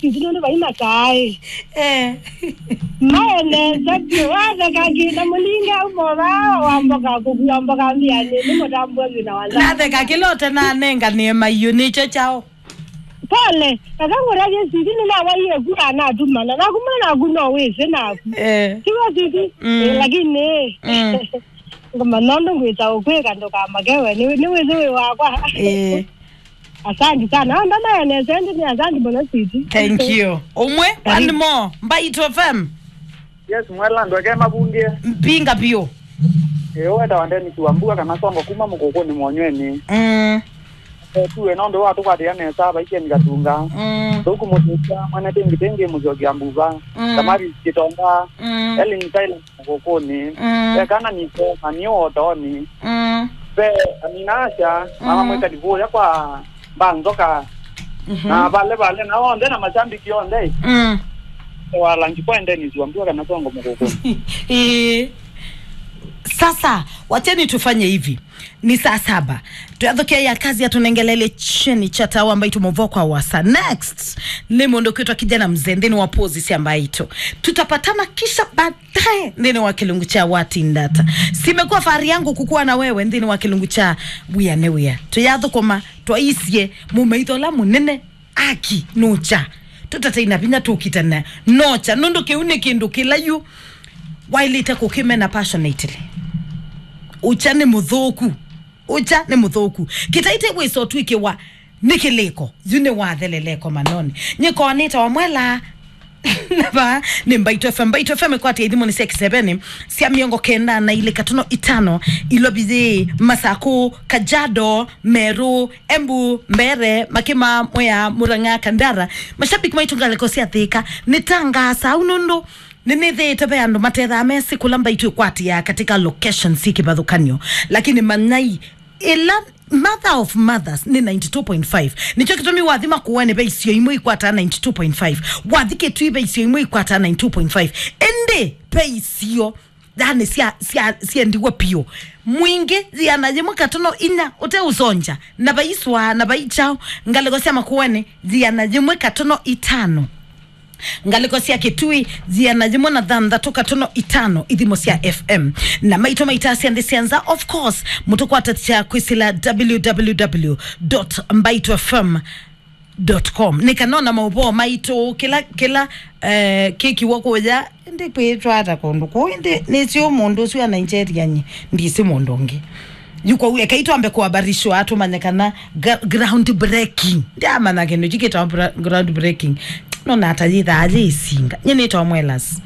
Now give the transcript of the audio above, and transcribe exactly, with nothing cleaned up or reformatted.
Sisi nũndũ vai makaĩ. Eh. Maenesa vyũ, watheka kĩna mũlinga ũmotha, wamboka kũkua mboka mbianĩ, nĩ mũtambua thĩna wa nza. Natheka kĩla ũtenanenganĩe maiũ, nĩkyo kyaũ? Pole, eka ngũtavye sisi nĩnawaiye ku anatumana, naku mwana waku no wĩsĩ naku. Eh. Tiwe sisi? Mm. Eh, lakini, Mm. ngoma nũndũ ngwĩta ũkwĩka ndũkamake we, nĩ, nĩ wĩsĩ wĩ wakwa. Eh. Asante sana. Ah, ndanaeleza, ndi ni asante mũno, sweetie. Thank you. Ũmwe, Karibu. One more. Mbaitũ F M. Yes, mwela, andũ ake mavundie. Mbinga biũ. Ĩĩ, wetawa Dennis Wambua kana Songo kuma Mũkũkũnĩ Monyweni. Mm. Eh, tuwe nondũ wa tũkwatĩa nesa, Vaikeni Katunga. Mm. Thũku Mũtĩsya, Mwene Tĩngitĩngi, Mũsyoki Ambuva. Mm. Tamari Kitonga. Mm. Ellen Tyler. Mũkũkũnĩ. Mm. Ve kana niko, na nĩ ũotoonĩ. Mm. Ve amina asya, mama Mm. mwĩkali kũya kwa mbanzoka. Mhm. Na vale vale, na onthe na mashabiki onthe. Mm. Walangi kwa endeni zua mbua kana Songo Mũkũkũnĩ. Ĩĩ. Sasa, wacheni tufanye hivi. Ni saa saba. Tuyathokea ya kazi ya tunengelele cheni cha tawa ambayo tumuvokwa wasa. Next, ni mũndũ kwitwa kijana mzee, nthĩnĩ wa pozi sya Mbaitũ. Tutapatana kisha baadaye nthĩnĩ wa kĩlungu cha Watindata. Simekuwa fahari yangu kukuwa na wewe nthĩnĩ wa kĩlungu cha Wia nĩ Wia. Tuyathũkũma, twaisye mũmaitho ũla mũnene. Aki, nũkya. Tũtatei na vinya tũkitana. Nokya. Nũndũ kĩu nĩ kĩndũ kĩla yu waĩlĩte kũkĩmena passionately. Ũkya nĩ mũthũku. Ũkya nĩ mũthũku. Kĩtaitĩ wĩsa ũtw'ĩkĩwa nĩ kĩlĩko. Yu nĩ watheleleko manoni. Nyĩkonĩte wamwela. Nava nĩ Mbaitũ F M. Mbaitũ F M ĩkwatĩa ithimũnĩ sya kĩseveni sya mĩongo kenda na ilĩ katono itano, Ilovi yĩ, Masakũ, Kajiado, Meru, Embu, Mbeere, Makima, Mwea, Murang'a, Kandara. Mashabiki maitũ ngalĩko sya Thika, nĩtangaasa au nũndũ nĩnĩthĩĩte ve andũ matethaa mesĩ kũla Mbaitũ ĩkwatĩaa katika locations syĩ kĩvathũkany'o. Lakini manyai, ĩla mother of mothers nĩ ninety two point five. Nĩkyo kĩtumi wathi Makueni ve isio imwe ikwataa ninety two point five. Wathi Kitui ve isio imwe ikwataa ninety two point five. Ĩndĩ ve isio yani sya, sya, syendiwe piũ. Mwingĩ, yĩana yĩmwe katono inya, ũteũsongya, na vaiswa, na vaikyao, ngalĩko sya Makueni, yĩana yĩmwe katono itano. Ngalĩko sya Kitui, yĩana yĩmwe na thanthatũ katono itano, ithimo sya F M. Na maitũ maitasya nthĩ sya nza, of course, mũtũkwatasya kwĩsĩla W W W dot mbaitũ F M dot com. Nĩ kana ona maũvoo maitũ, kĩla, kĩla, eh, kĩkiwa kũya, ĩndĩ kwĩtwa ata kũndũ kũu, ĩndĩ nĩsĩ mũndũ ũsu wa Nigeria, nyie ndisĩ mũndũ ũngĩ. Yu kwoou, ekai twambe kũabarishwa, tũmanye kana gra-, ground breaking. Ndiamanya kĩndũ kĩu kĩtawa bra-, ground breaking. No nata yĩthaa yĩ isinga. Nyie nĩtawa Mwelas.